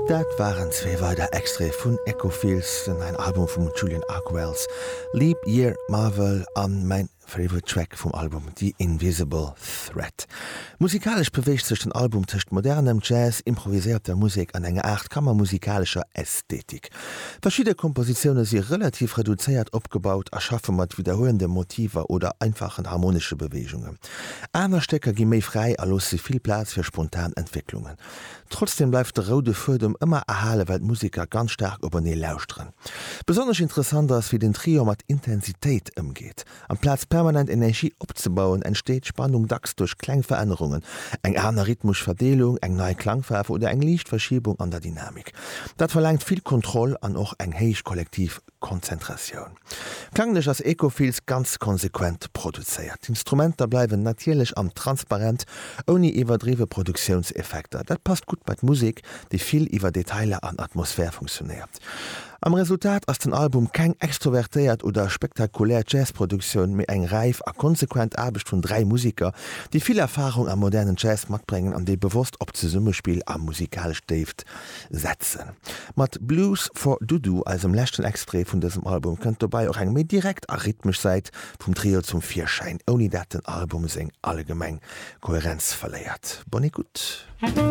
Dat waren zwee weider Extraite vun Echofields, den neien Album vum Julian Arkwells, Leap Year Marvel an mäin Favorite Track vum Album, The Invisible Threat. Musikalesch beweegt sech den Album tëscht modernem Jazz, improviséierter Musek an enger Aart kammermusikalescher Ästhetik. Verschidde Kompositioune si relativ reduzéiert opgebaut a schaffe mat widderhuelende Motiver oder einfachen harmonesche Beweegungen. Aner Stécker gi méi fräi a loosse vill Plaz fir spontan Entwécklungen. Trotzdeem bleift de roude Fuedem ëmmer erhale well d'Museker ganz staark openee lauschteren. Besonnesch interessant ass, wéi den Trio mat Intensitéit ëmgeet. Amplaz permanent Energie opzebauen, entsteet Spannung dacks duerch kleng Verännerungen, eng aner rhythmesch Verdeelung, eng nei Klangfaarf oder eng liicht Verschiebung an der Dynamik. Dat verlaangt vill Kontroll an och eng héich kollektiv Konzentratioun. Klanglech ass Ecofields ganz konsequent produzéiert. D'Instrumenter bleiwen natierlech an transparent, ouni iwwerdriwwe Produktiounseffekter. Dat passt gutt bei d'Musek, déi vill iwwer Detailer an Atmosphär funktionéiert. Am Resultat ass den Album keng extrovertéiert oder spektakulär Jazzproduktioun, mee eng räif a konsequent Aarbecht vun 3 Museker, déi vill Erfarung am modernen Jazz matbréngen an déi bewosst op Zesummespill a musikalesch Déift setzen. Mat Blues for Dudu, eisem leschten Extrait vun dësem Album, kënnt dobäi och eng méi direkt a rhythmesch Säit vum Trio zum Virschäin, ouni dat den Album seng allgemeng Koherenz verléiert. Bonne écoute!